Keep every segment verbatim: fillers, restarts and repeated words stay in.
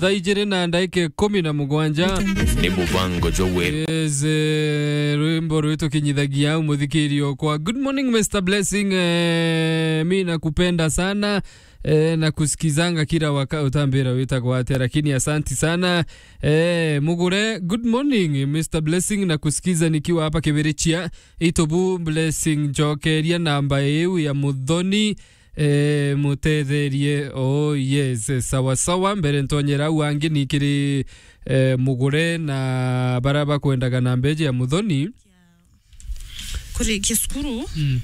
Thaa ijiri na ndagika ikumi na mugwanja. Ni mubango jwa Weru. Yes, eh, rwimbo rwitu kinyithagia au muthikiri okwa. Good morning, Mister Blessing. Eh, mi nakupenda sana. Eh, nakusikizanga kila waka-, utambira witagwa atia, lakini asanti sana. Eh, Mugure, good morning, Mister Blessing, nakusikiza nikiwa hapa Kibirichia. Itobu Blessing, njokeria namba iu ya Muthoni. Eh, mutetherie. Oh, yes, sawa sawa. Mbere ntonyera au angi ni kiri, eh, Mugure na bara bakwendaga na mbeji ya Muthoni. Kurikia cukuru, mm,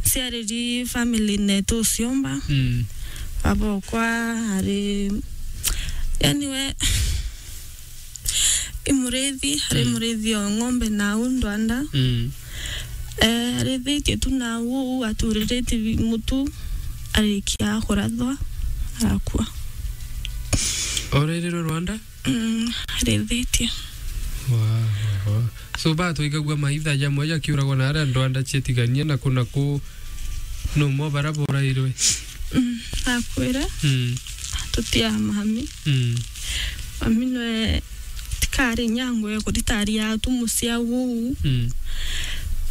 ciariri family netu uciomba. Mm. Baba okwa ari, yani we, i murithi, ari, mm, murithi o ng'ombe na au ndwanda. Mm. Eh, arithitie tu na au, aturiritie mutu, arikia kurathwa, arakua. Orerirwe Rwanda? Mm, arithitie. Wa, wa, wa. So, ba twaigagua maitha jamwe jakiuragwa na aria ndwanda cietigania na kuna ku no mo bara borairwe. Mm, akwire. Mm. Tutia mami. Mm. Mami nwe tikari nyango ya kuritaria tu mucia uu. Mm.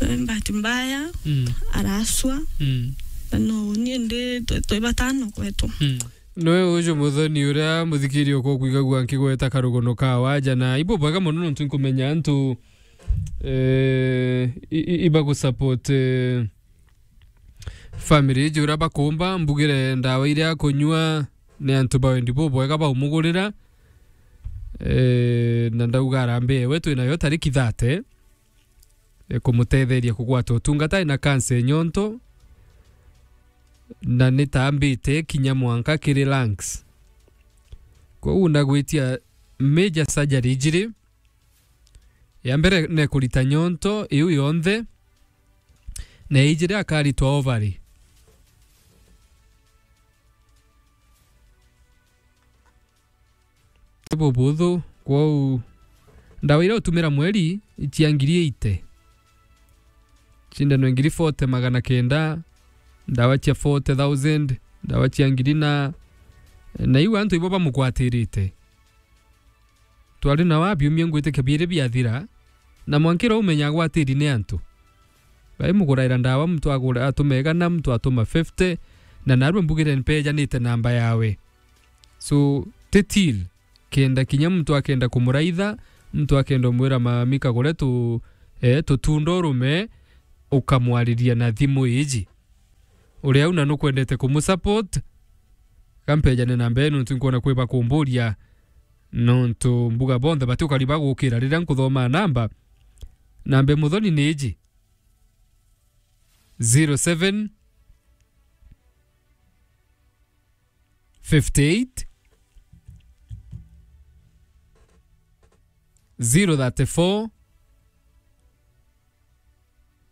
Eh, bahati mbaya, mm, araswa. Mm. Na no ni ndi twe, twe batano kwetu. Mm. Noe uju Muthoni uria muthikiri okwa kwigagua nkigweta karugono ka waja, na ibo bwega mono nontu nkumenya antu, eh, i-, i-, iba gusupport, eh, family iji uria bakumba, mbugire ndawa iria akunyua ni antu ba wendi bubwega baumugurira. Eh, na ndauga arambie we twinayo tariki thirty, eh, kumutetheria kugwata utungata ena cancer ya nyonto, na nitambite kinya mwanka kiri lungs. Koguo ndagwitia major surgery ijiri. Ya mbere ni kurita nyonto iu yonthe, na ijiri akaritwa ovary. Ti bubuthu, kwou ndawa iria utumira mweri cia ngiri eighty, cindano ngiri forty magana kenda, ndawa cia forty thousand, ndawa cia ngiri na, na iu antu ibo bamugwatirite. Twari na wa biumia ngwitikia biiri biathira, na mwankira umenya agwatiri ni antu. Bai muguraira ndawa, muntu agura, atuma igana, muntu atuma fifty, na narua mbugire mpejanite namba yawe. So, ti till, kenda kinya muntu akenda kumuraitha, muntu akenda umwira, "Mami, kagure tu, eh, tutunda urume," ukamwariria na thimu iji. Uria au na nukwendete kumusupport, kampejane namba ii nontu nkwona kwi bakumburia, nontu mbuga bonthe bati ukari bagukira riria nkuthoma namba. Namba Muthoni ni iji, zero seven, fifty eight, zero thirty four,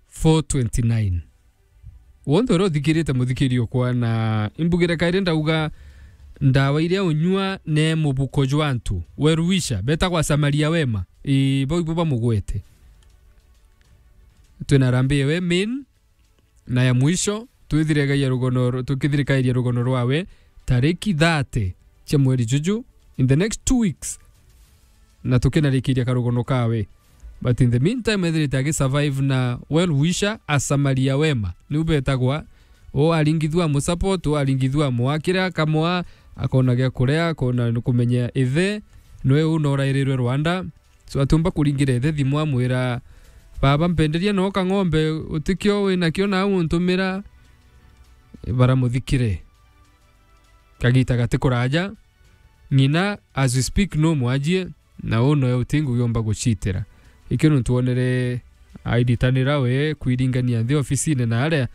four twenty nine. Wonthe uria uthikirite muthikiri okwa, na imbugire kairi ndauga ndawa iria unyua ne mubuko jwa antu. Well wisher, betagwa Samaria wema. Ii, bau ibo bamugwete. Twina Harambee we main, na ya mwisho, twithirikagia rugono, tukithirikairia rugono rwawe tariki thirty cia mweri juju, in the next two weeks, na tukinarikiria karugono kawe. But in the meantime, ethirite agisurvive na well wisher, asamaria wema, niu betagwa. O aringithua amusupport, o aringithua amwakira, akamwa, akona gia kuria, akona kumenya ithe, nwe u norairirwe Rwanda. So, atiumba kuringira ithe thimu amwira, "Baba, mpenderia no kang'ombe utikio winakio na untumira." Baramuthikire. Kagita gati kuraja, ng'ina, as we speak, no mwajie, na u noe uti ngugi umba gucitira. Ikio nontu wonere aiditanira we kwiringania nthi ofisine na aria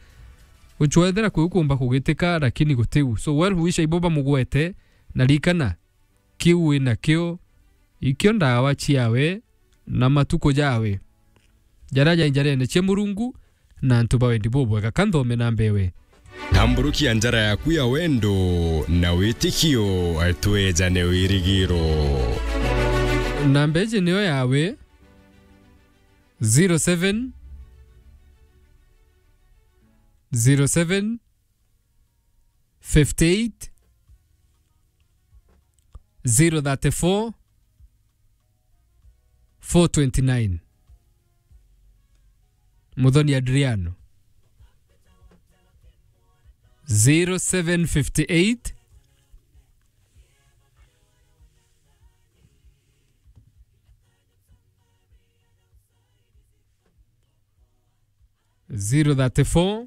gucwethera kwiu kumba kugitika, lakini gutiu. So, well wisher ibo bamugwete, na rikana, kiu winakio, ikio ndawa ciawe na matuku jawe jaria jai njarene cia Murungu na antu ba wendi bubwega. Ka nthome namba iwe. Tamburukia njara yaku ya wendo na witikio, twejane wirigiro. Namba iji niyo yawe, zero seven, zero seven, fifty eight, zero thirty-four, four twenty-nine. Muthoni Adriano. Zero seven fifty-eight, zero thirty-four,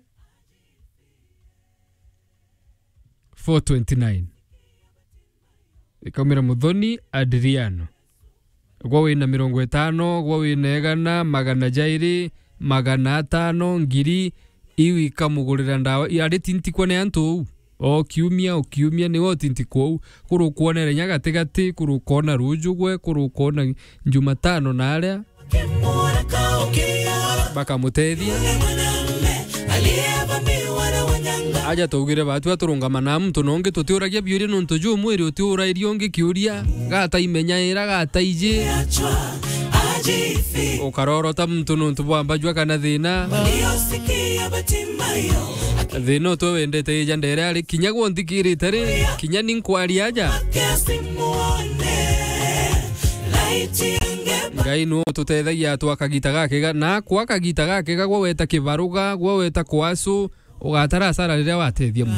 four twenty-nine. Ikaumira Muthoni Adriano. Gwa wina mirongo itano, gwa wina igana, magana jairi, magana atano, ngiri, iu ikamugurira ndawa. I-, ari tintikwa ni antu uu. O kiumia, o kiumia, niwe utintikwa uu. Kuru ukwonere nya gatigati, kuru ukona ruju gwe, kuru ukona Jumatano na aria. Bakamutethia. Aja twaugire batua turungama na muntu na ungi tutiuragia biuria nontu ju mwiri utiurairia ungi kiuria, gata imenyaira, gata iji. Ukarorota muntu nontu bwa mbajua kana thina. Thina utwe wendete ija ndere ari kinya gwo nthikirite ri, kinya ni nkwaria aja. Ngai nu ututethagia twa kagita gakega, na kwa kagita gakega gwo weta kibaruga, gwo weta kwasu, ugatara asara riria watethia muntu.